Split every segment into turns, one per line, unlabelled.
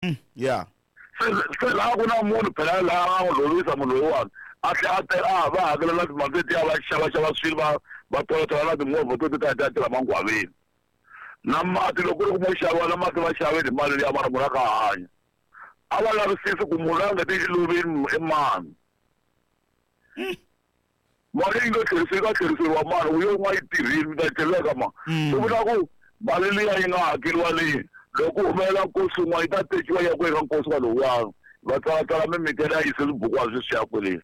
Ya.
Se laha ku na munhu phela laha a n'wi lovisa munhu loyiwani a tlhela a teka a va hakela na timali tetiya va xavaxava swilo va va tolatola na timovha to ti ta ti ya tirha mangwaveni na mati loko ku ri ku mo xaviwa na mati va xaveni hi mali liya mara munhu a kha a hanya a va lavisisi ku munhu loyi a nga te xiluveni i mani. Mali yi nga tlherisiwi yi nga tlheriseriwa mani u yo n'wa yi tirhile mi ta yi tlhelela ka mani swi vula ku mali liya yi nga hakeriwa leyi loko ku humelela nkosi wun'wana yi ta tekiwa yi ya ku eka nkosi wa lowuyani va tsalatsala mimiti ya yise swibukwana sweswiya kwele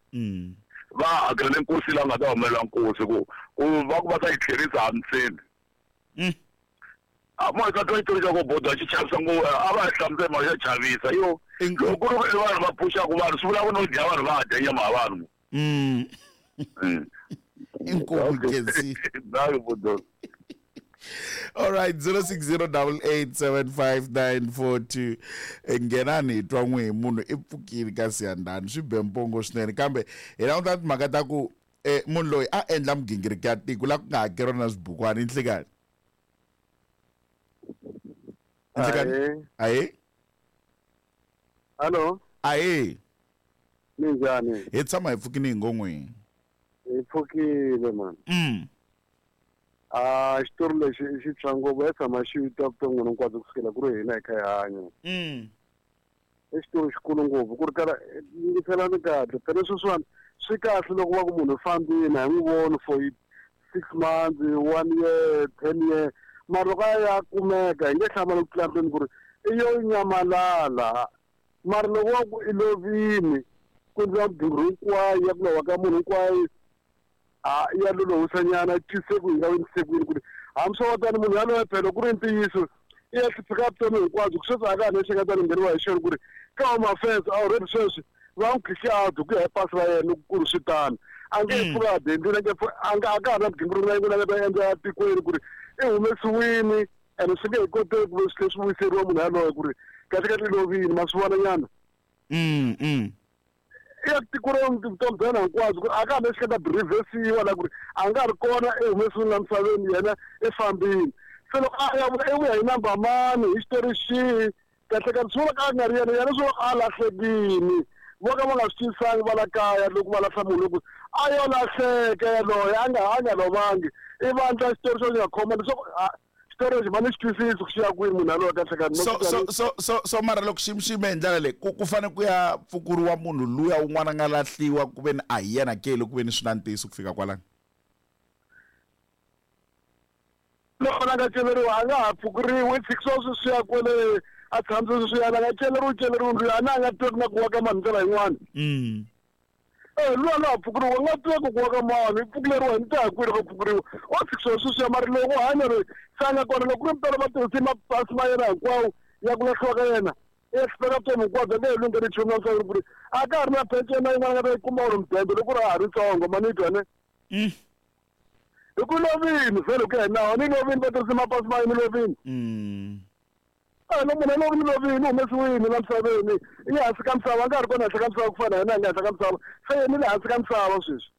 va hakelele nkosi la nga ta humelela nkosi ku ku va ku va ta yi tlherisa a mi tshembi. A mo hi ta twa xitori xa ku bodo xi chavisa ngopfu a va hi hlamusela mhaka xa chavisa yo loko ku ri ku i vanhu va phuxaka vanhu swi vula ku no dya vanhu va dya nyama ya vanhu.
Inkomu Kensi.
Nayo bodo.
All right, 0608875942. Nghenani hi twa n'wi hi munhu i pfukile ka siyandhani swi be mpongo swinene kambe hi languta timhaka ta ku munhu loyi a endla migingiriko ya tiko la ku nga hakeriwa na swibukwani nhlikani. Nhlikani. Ahee.
Hello.
Ahee.
Minjhani?
Hi tshama hi pfukile hi ngo n'wini.
Hi pfukile mani. A xitori lexi i xi tshwa ngopfu ya tshama xi twa vuton'wini hinkwabyo kusukela ku ri hina hi kha hi hanya. I xitori xikulu ngopfu ku ri kala yingiselani kahle phela sweswiwani swi kahle loko va ku munhu u fambile a hi n'wi voni for 6 months, 1 year, 10 year mara loko a ya kumeka hi nge hlamali ku tlula mpimo ku ri i yo nyamalala. Mara loko wa ku i lovini ku endliwa migingiriko hinkwayo ya ku lova ka munhu hinkwayo a ya lolohisanyana yi twise ku yi nga endlise ku yini ku ri hambi swo va tani munhu yaloye phela ku ri ntiyiso i ya hlupheka vutomi hinkwabyo ku sweswi a ka ha na lexi nga ta ngheniwa hi xona ku ri ka home affairs already sweswi va n'wi khixe out hi ku ya hi pasi ra yena loko ku ri swi tano a nge he pfuki a dendile a nge a nga a ka ha ri na migingiriko na yin'wana a nga ta endla etikweni ku ri i humesiwini ene swi nge he koteki ku ve swi tlhela swi vuyiseriwa munhu yaloye ku ri kahlekahle i lovile ma swi vona nyana. I ya tiko ra vutomi bya yena hinkwabyo ku ri a ka ha lexi nga ta byi reverse-iwa la ku ri a nga ha ri kona i humesiwile la misaveni yena i fambile se loko a ya vuya i vuya hi number mani hi xitori xihi kahlekahle swi vula ka a nga ri yena yena swi vula a lahlekile vo ka va nga swi twisangi va la kaya loko va lahla munhu loko a yo lahleka yaloye a nga a nga lovangi i vandla xitori xo xi nga khoma leswaku xitori lexi va ni xi twisisi ku xi ya kwini munhu yaloye kahle kahle
so so so so so mara loko xi xi yime hi ndlela leyi ku ku fanele ku ya pfukuriwa munhu luya un'wana a nga lahliwa ku ve ni a hi yena ke loko ku ve ni swi na ntiyiso ku fika kwalano.
Loko la nga celeriwa a nga ha pfukuriwi i tshikisiwa sweswiya kwele a tshamise sweswiya la nga celeriwi celeriwi luya a na a nga tweki na ku wa ka mani ndlela yin'wana. Eh, luya la ha pfukuriwa nga tweki ku wa ka mani i pfukuleriwa hi ni ta ya kwini loko pfukuriwa o tshikisiwa sweswiya mara loko u hanya loyi se a nga kona loko ku ri mpela va tirhise mapasi ma yena hinkwawo ya ku lahliwa ka yena i ya hlupheka vutomi hinkwabyo a nge he lungheli nchumu la misaveni ku ri a ka ha ri na peceni na yin'wana a nga ta yi kuma or mudende loko ku ri a ha ri ntsongo ma ni twa ne. Hi ku lovini vhele ku ya hi nawu ni lovini va tirhise mapasi ma yini lovini. A no munhu loyi ni lovini u humesiwile la misaveni i le hansi ka misava a nga ha ri kona henhla ka misava ku fana na hina hi nga henhla ka misava se yena i le hansi ka misava sweswi.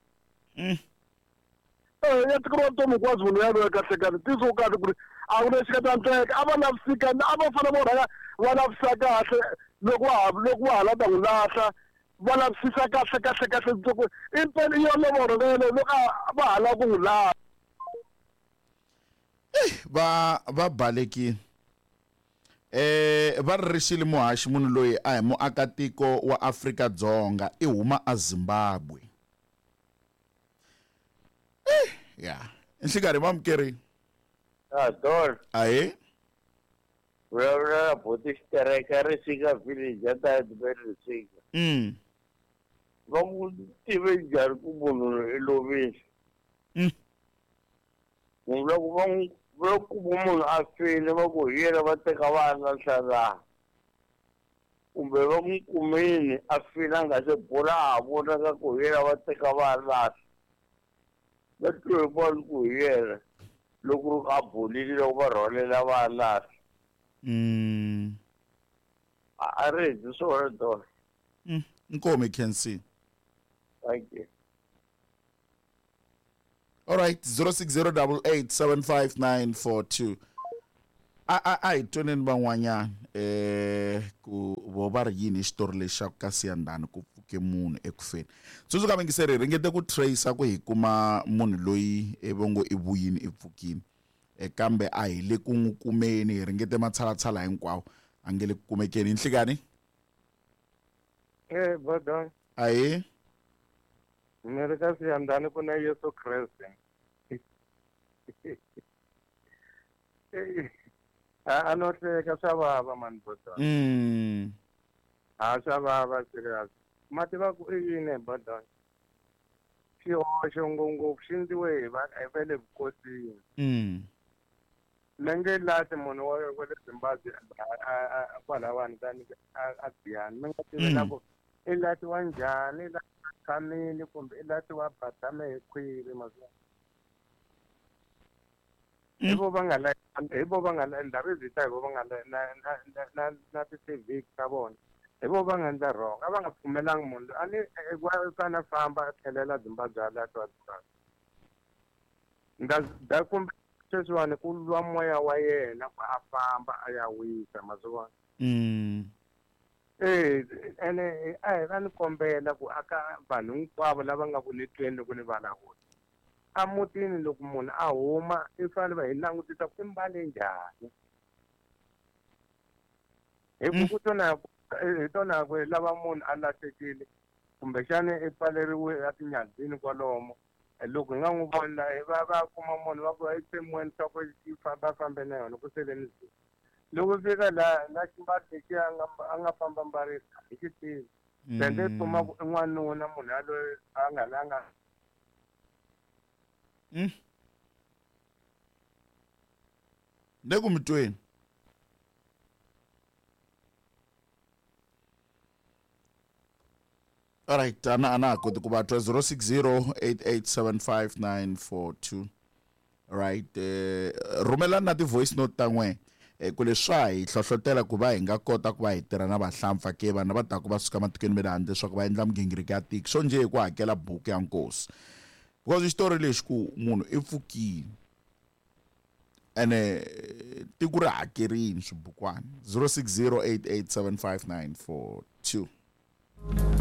Eh ya tikeriwa vutomi hinkwabyo munhu yaloye kahle kahle ntiyiso wu kahle ku ri a ku lexi nga ta endleka a va lavisika a va fanele vo rhanga va lavisisa kahle loko va ha loko va ha la ta n'wi lahla va lavisisa kahle kahle kahle loko i mpela i yo lovoro lelo loko a va ha lava ku n'wi lahla.
Va va balekile. Va ri rixile muhaxi munhu loyi a hi muakatiko wa Afrika-Dzonga i huma a Zimbabwe. Ya nhlikarhi mamukeri.
Ah, Don.
Ahee.
Vulavula na buti Xitereka Risika village a ta Risika. Va ku tive njhani ku munhu loyi i lovile? Munhu loko va n'wi va kuma munhu a file va ku hi yena va teka va ya lahla laha kumbe va n'wi kumile a file a nga se bola a ha vonaka ku hi yena va teka va ya lahla va twe hi vona ku hi yena loko ri a bolile loko va rhwalela va ya lahla. A ri hezi swona dona.
Inkomu Khensi.
Thank you.
All right, 0608875942. A hi tweneni van'wanyana ku vo va ri yini hi xitori lexi xa ku ka Siyandhani ku pfuke munhu eku feni. Tsundzuka vayingiseri hi ringete ku tracer ku hi kuma munhu loyi vo ngo i vuyini i pfukini kambe a hi le ku n'wi kumeni, hi ringete matshalatshala hinkwawo a nge le ku kumekeni. Hi nhlikani?
Bodon.
Ahee.
Ni ri ka Siyandhani ku na Yesu Kreste. A no hleka swa vava mani Bodon. A swa vava serious. Ma tiva ku i yini Bodon? Xihoxo ngopfungopfu xi endliwe hi va hi va le vukosini. Mi nge lati munhu wa le Zimbabwe kwalawani tani a Giyani. Mi nga tivi na ku i latiwa njhani, i latiwa tshamile kumbe i latiwa batame hi khwiri ma swi vona. Hi vo va nga la hi vo va nga la ndhawu yi hi vo va nga la na na na na na ti-civic ta vona. Hi vo va nga endla wrong. A va nga pfumelangi munhu loyi. A ni u fanele a famba a tlhelela Zimbabwe a latiwa Zimbabwe. Nda kumbe sweswiwani ku lwa moya wa yena ku a famba a ya wisa ma swi vona. Ene a hi va ni kombela ku aka vanhu hinkwavo lava nga ku ni tweni loko ni vulavula. A mutini loko munhu a huma i fanele va hi langutisa ku i mbale njhani. Hi ku ku tona hi tona ku lava munhu a lahlekile kumbexana i pfaleriwe etinyadzini kwalomo. Loko hi nga n'wi voni la va va kuma munhu va ku i tsemweni swa ku yi famba fambe na yona ku sele ni zulu. Loko fika la na ximbalo lexi a nga famba mbarisa hi xi tivi. Then i kuma ku i n'wanuna munhu yaloye a nga la nga
Le ku mi tweni. Alright, ana ha koti ku va twa. 0608875942. Right, rhumelani na ti-voice note ta n'we ku leswi swa hi hlohlotela ku va hi nga kota ku va hi tirha na vahlampfa ke vanhu lava taka va suka matikweni ma le handle leswaku va endla migingiriko ya tiko swo njhe hi ku hakela buku ya nkosi, because xitori lexi ku munhu i pfukile ene tiko ri hakerini swibukwana. 0608875942.